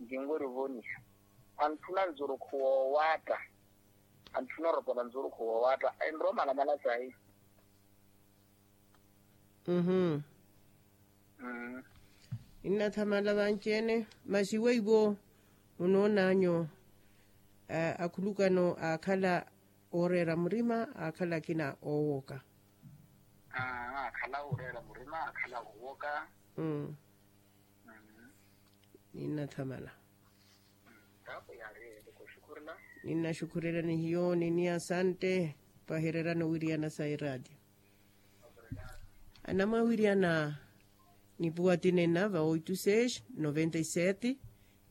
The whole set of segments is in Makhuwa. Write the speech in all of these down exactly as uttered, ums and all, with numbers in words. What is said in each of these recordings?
Kinwerya ovoniha. Anthuna nzurukhu woowaatta. Anthuna oropola nzurukhu woowaatta enromalamala sayi. Uhum. Ninnathamala vanci-ene. Masi weiwo munoonanyu akhulukano aakhala ooreera murima aakhala akina oowoka? Aakhala ooreera murima aakhala oowoka. Ninnathamala. Ninnaxukhurela ni hiyo nini asante. Pahererana owiriyana sa iraatiyo. Anamwawiriyana nipuwa tinena va oito seis noventa e sete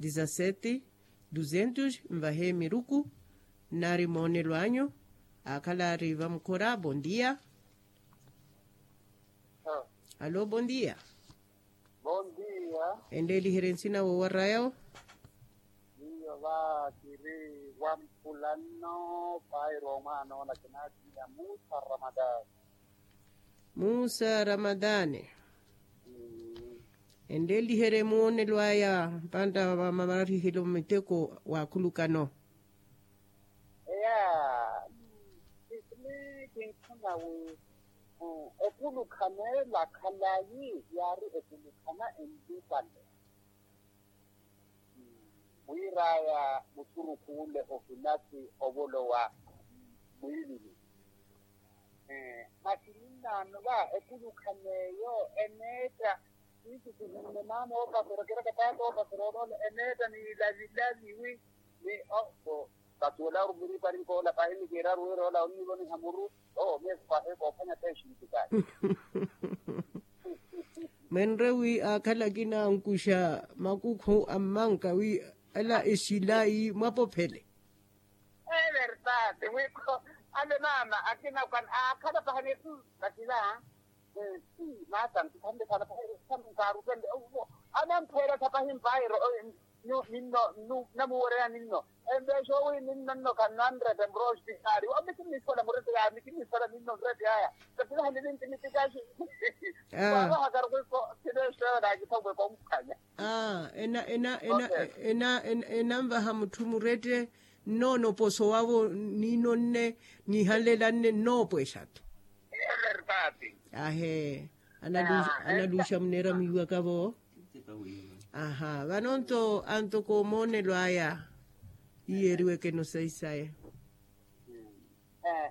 dezasete duzentos. Nvahe miruku. Nnari moonelo anyu. Aakhala ari vamukhora bondia. Alo bondia. Bondia. Enleeliherye nsina woowaraya-wo. Miyo va kiri wampulanno. Pairo omwaana ola kinaatiya musa ramadani. Musa ramadani. Enleeliherye muwonelo aya mpanta vamarihelo miteko waakhulukano. Eya. Sisini kinkhuna wi ekulukhana ela khalayi yaari ekulukhana enlipale. Wiiraya musurukhu ule ohinasi ovolowa mwiilini. Masi ninnaano va ekulukhana eyo eneetta. Siisi sihinne maana oopasera kiraka taata oopasera oloola eneetta niilavilavi wi ni o. Kasuwela orumiripari nkoola pahi nikiira ruwira ola onnivoniha muru. Oo miyo pahi koophwanya teexintikani. Mwenre wi aakhala akina ankuxa makukhu a mmanka wi ala exilayi mwapophele. Evertati wikho ale maama akina aakhala pahi ni. Vakila. Maasa ntithanle sana pahi. Nkaarutelle. Anamphweela thapahi mpairo. Ninno. Namuwereya ninno. Empeexa owi ninno nno khananretta mrospitali omi kinniswela murette yaya mi kinniswela ninno murette yaya. Katilahani ninti mitikaxi. Kwaavahakaru kwikho. Kineexeyo naakitha kwe komphwanya. Ena ena ena ena enanvaha mutthu murette. Nnoona oposo wavo ninno nne nihanlela nne nnoopwexatu. Ahe. Analuxa muneera mwiiwaka vo. Aha vano nto antoko moonelo aya. Iyeeriwekeno sayi saye.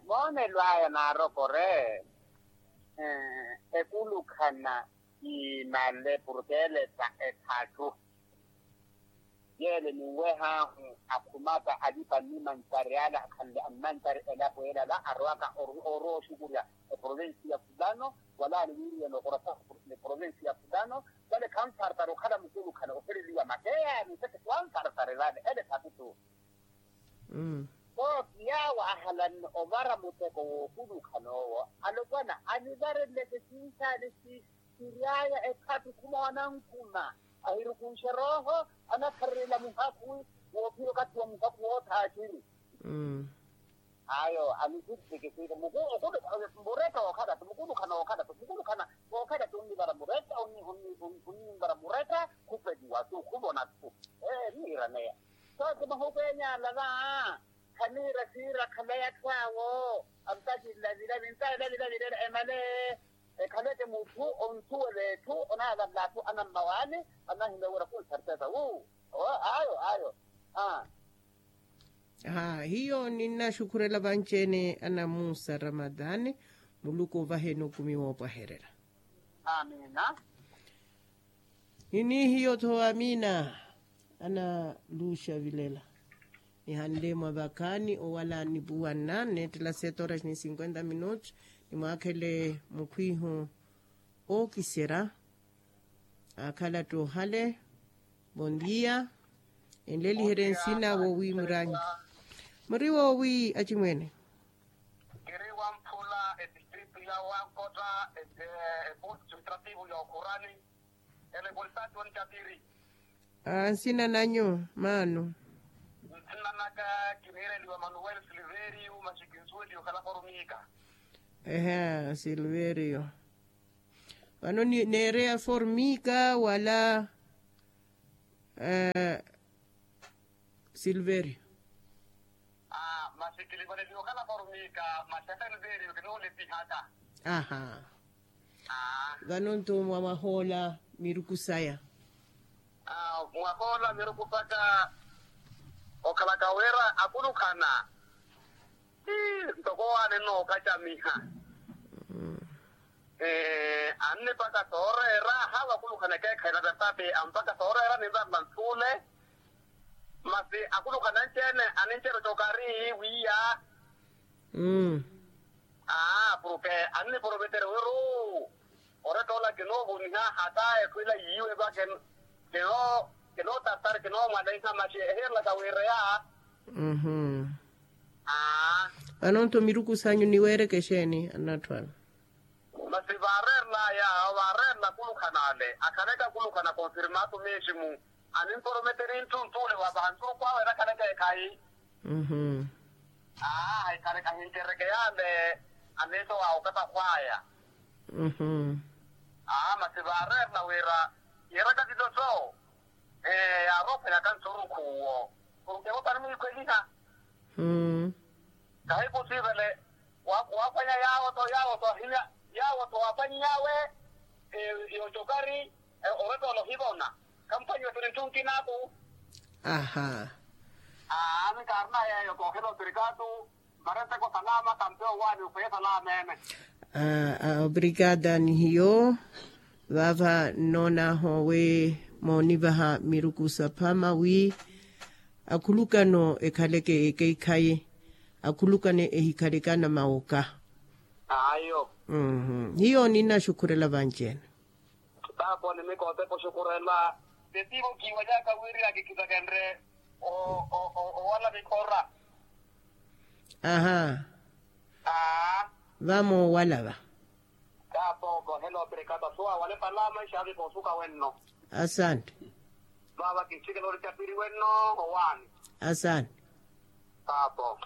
Moonelo aya naarokore. Ekulukhana imale purkeelesa ethattu. Yeele ninwehahu akhumaka alipa nnimantari ala akhanle ammantari elapo elala arowaka. Orowa oxukurya eprovensi ya fulano wala aniwiiriyana okorasa eprovensi ya fulano. Vale khanfartari okhala mukulukhana ohereliwa makeyani seke kwanfartari vale ele thakutu. Kooki yaawo ahalanne ovara muteko wookulukhana owo alopwana anivareleke sinsaale si. Siryaya ekhapikhu moonankhuma ahirukunxe rooho. Anakharerela muhakhu woophira okathi wa muhakhu woothaakiri. Ayo anisittikisika muretta wookhalatu mukulukhana wookhalatu mukulukhana wookhalatu onnivara muretta. Onnivara muretta khupeliwa tu khuvona tu. Ee niiraneya. Soosi mahuku enyala va khaniira siira khalaya atthu awo. Ampakilla vilavi ntaela vilavi leela emale. Ekhaleke mutthu onsuwela etthu onaalalela atthu anammawaani. Anahimya wira khunsertesa wu. Ayo ayo. Aa. Hiyo ninnaxukhurela vanci-ene anamusa ramadhani. Muluku ovaheni okumi woopwahererya. Amina. Nini hiyo tho amina. Analuxa vilela. Nihanle mwa vakhaani owala nipuwanna neettela sete horas ni cinquenta minutos. Nimwaakhele mukhwiihu ookiserya. Aakhala ttohale. Bondia. Enleliherye nsina woowi muranyi. Muri woowi acimwene. Kiri wamphula etistritu ya wankota. Eposto estrativo ya okhurani. Ene konsati onitapiri. Nsina nanyu maano? Nsina naka kiniireliwa manuel silverio masi kinsuweliwa okhala formica. Ehe silverio. Vano neereya formica wala? Silverio. Masi kilivaleliwa okhala formiika. Masi aka silverio kinoolipihaka. Aha. Vano nto mwa mwahoola miruku saya. Mwahoola miruku saka okhalaka wira akulukhana. Ntoko waani enookacamiha. Annipaka sooreera haawa akulukhana ekeekhayi na vertati ampaka sooreera ninvarela nthule. Masi akulukhana anci-ene anincerya ocokari wiiya. Aa purke anniporometere wiru oretta ola kinoovoniha hata etthu ela yiiwe va. Kinootartari kinoomwalaiha masi ehiyerelaka wiireya. Aa. Vano nto miruku sanyu niweereke exeeni annatthu ala? Masi vaareerelaya vaareerela akulukhana ale akhaleke akulukhana konfirmatu meximu. Aninporometeri ntthu ntthu ole waavaha ntthuruku awe erakhaleke ekhayi. Aa ekhaleke ahincereke yaale. Aneeto waawe okatakhwaya. Aa masi vaareerela wira yeeraka titoso. Ee yaarophweyaka ntthuruku uwo. Purke vopani mwiikhweliha. Kahi posiivele waaphwanya yaawo-tho yaawo-tho ahinya yaawo-tho waaphwany'awe. Yoocokari orettoola ohivona. Khamphwanyiwe siri ntthu nkinaku. Aha. Aa ni kaarina yeeyo koohela otirikatu. Mara nteko salama kampe owaani ophweye salama ene. Obrigada ni hiyo. Vaava nnoon'ahu wi moonivaha miruku saphama wi akhulukano ekhaleke ekeikhayi. Akhulukano ehikhaleke anamawoka. Ayo. Hiyo ninnaxukhurela vanci-ene. Taaponi mikootepo xukhurela. Tetivo kiiwanyaka wiri akikhisakenre owala mikhora. Aha. Aa. Vamoowala va. Taapo koohela opirikata suwa wale palama ixaavi koosuka wenno. Asante. Vaava kinsikela ori capiri wenno. Owaani. Asante. Taapo.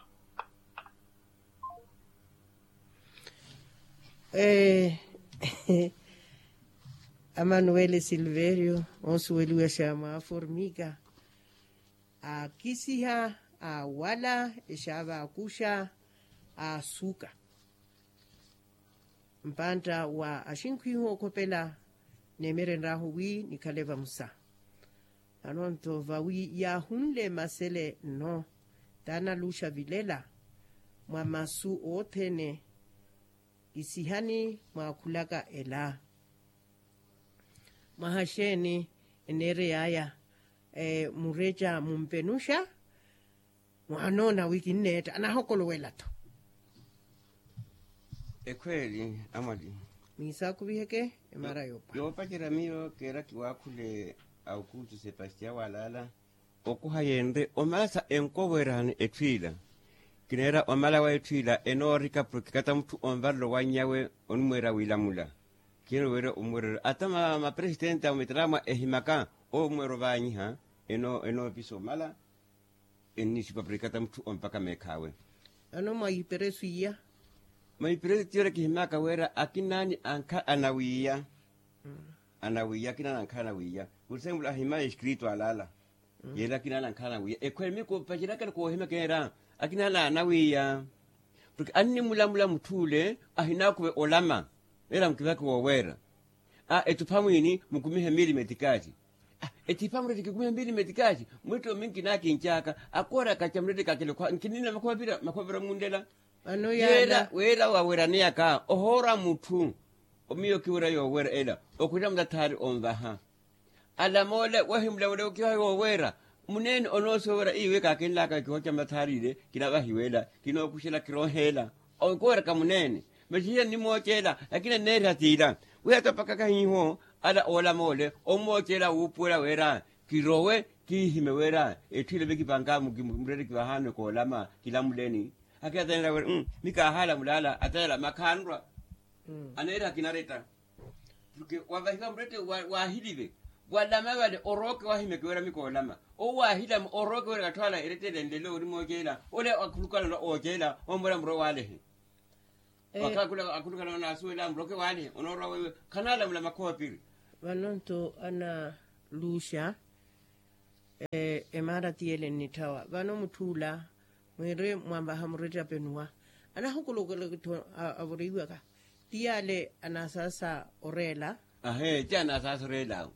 Amanuwele silverio onsuweliwa xa mwa aformika. Akisiha awala exaava akuxa asuka mpantta wa axinkhwihu okhopela. Neemerenryahu wi nikhale vamusa. Vano nto vawi yaahunle masele nno taanaluxa vilela mwa masu othene. Isihani mwaakhulaka ela mwaha xeeni eneerey'aya? Mureca mumpenuxa mwaanoona wi kinneetta anaahokolowela-tho. Ekhweeli amwali. Mwiisaakhuviheke emara yoopa yoopacerya miyo keera kiwaakhule. Aukustu sepastian walaala okuha yenre omala sa enkowerani etthu ila. Kineera omala wa etthu ila enoorika purke kata mutthu onvarela owanny'awe onimweera wiilamula. Kineera oweera omweerero ata mapresitenti a mitaraamwa ehimaka omweera ovaanyiha enoopisa omala. Ennisipa purke kata mutthu ompaka meekhaawe. Ano mwa iperesu iya. Mwa iperesu tiyo ela kihimaka wira akinaani ankha anawiiya. Anawiiya akinaani ankha anawiiya. Pursemulu ahimaya eskritu alaala. Yeera akinaani ankha anawiiya ekhwere miyo koopaceryakela koohimya keera akinaani anawiiya. Purke annimulamula mutthu ole ahinaakuve olama. Ela mukivake wooweera. Aa etthu phamwiini mukumihe miili metikaaci. Etthu phamwiini kikumihe miili metikaaci. Mwittho minki naakincaaka akoora kaca muleti kakele khwa nkinina makhoopira makhoopira munlela. Yeela weela waweraneyaka ohoora mutthu. Miyo kiwira yooweera ela okhwira mutathaari onvaha. Alamoole wahimulamulewo kiwaha yooweera. Muneene onoosooweera iwe kaakinlaaka kihooca mutathaari ile kinavahiweela kinookuxela kirooheela. Okoweraka muneene. Masi hiyo nnimooceela lakini enneeriha tiila. Wiha topakaka hiiho ala oolamoole ommooceela wuupuwela wira kirowe kiihime wira etthu ile vekipanka murereki vahaano koolama kilamuleni. Akina atanela wira mmm mikaahaala mulaala atanela makhaanrwa. Aneeriha kinaretta. Purke wavahiwa murette waahilive walama vale orooke wahimeke wira mikoolama. Owo waahilama orooke wira katthu ala erettele nlelo ori mooceela ole akhulukana oceela ommwela muro waalehe. Wakhakhula akhulukana onaasuwela murooke waalehe onoorwa weiwe. Khanalamula makhoopiri. Vano nto analuxa Emaara tiyele nnitthawa vano mutth'ula mwiiri mwanvaha muretta penuwa anahukulukulaka-tho. Avoriwaka tiyale anasaasa oreela. Ahee ti anasaasa oreel'awe.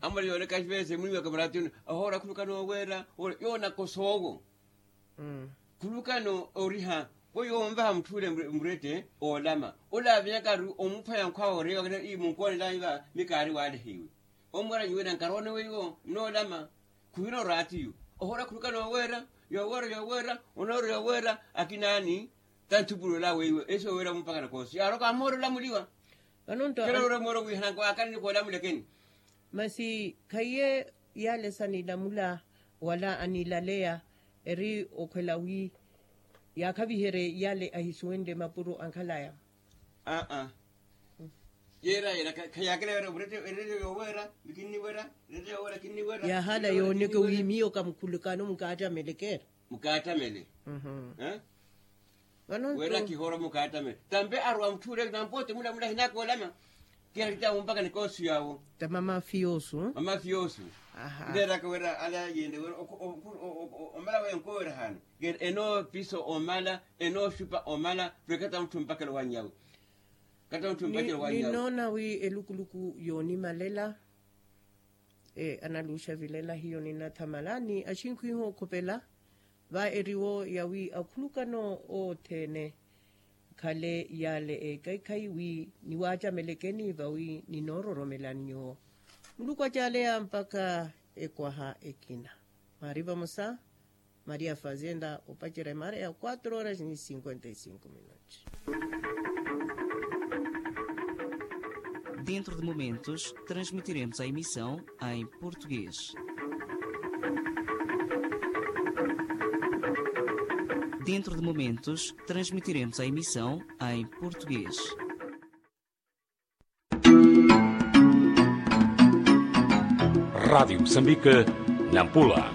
Amale yooneka vese mwiwaka muraatiyoni. Ohoora khulukana oweera. Yoonaka osoowo khulukana oriha. Weiwo onvaha mutth'ule murette oolama. Ole avinyaka ari omuphwanya nkhwawe oreewaka ii munkoonel'anyu va mikaari waalehiwe. Omwera nyuwela nkaroone weiwo nnoolama. Khuhina oraatiyu ohoora khulukana oweera. Yoweera yoweera onoora yoweera. Akinaani tanthupulola weiwo esi oweera mumpakana koosi yaaroka amoorela muliwa. Vano-nto kheroora moora wihananka waakani nikoola mulekeni. Masi khaiye yale sanilamula wala anilaleya eri okhwela wi yaakhaviherye yale ahisuwenle mapuro ankhalaya. Aa yeera yeera khayakela yoora murette erette yoweera. Kinniweera erette yoweera kinniweera. Yahala yooneke wi miyo kamukhulukano mukaattamelekera. Mukaatamele. Vano weera kihoora mukaatamele tampe arowa mutth'ule nampote mula mula hinakoolama. Kiharita mumpaka nikoosu yawo. Tamama fiyoosu. Mama fiyoosu. Ndeeraka weera ala yende weera omala wenkowera haana. Enoopisa omala enooxupa omala. Vekata mutthu mpakelo wanyawe. Kata mutthu mpakelo wanyawe. Ninoona wi elukuluku yoonimalela analuuxa vilela hiyo ninathamala ni axinkhu iho okhopela. Va eriwo yawi akhulukano othene khale yale ekeikhayi wi niwaacamelekeni vawi ninoororomelani nyuwo. Muluku acaleya mpakha ekwaha ekina. Mwaari vamosa maria fazenda opacerya emaara ya quatro horas ni cinquenta e cinco minutos. Dentro de momentos transmitiremos a emissão em português. Dentro de momentos transmitiremos a emissão em português. Rádio Moçambique, Nampula.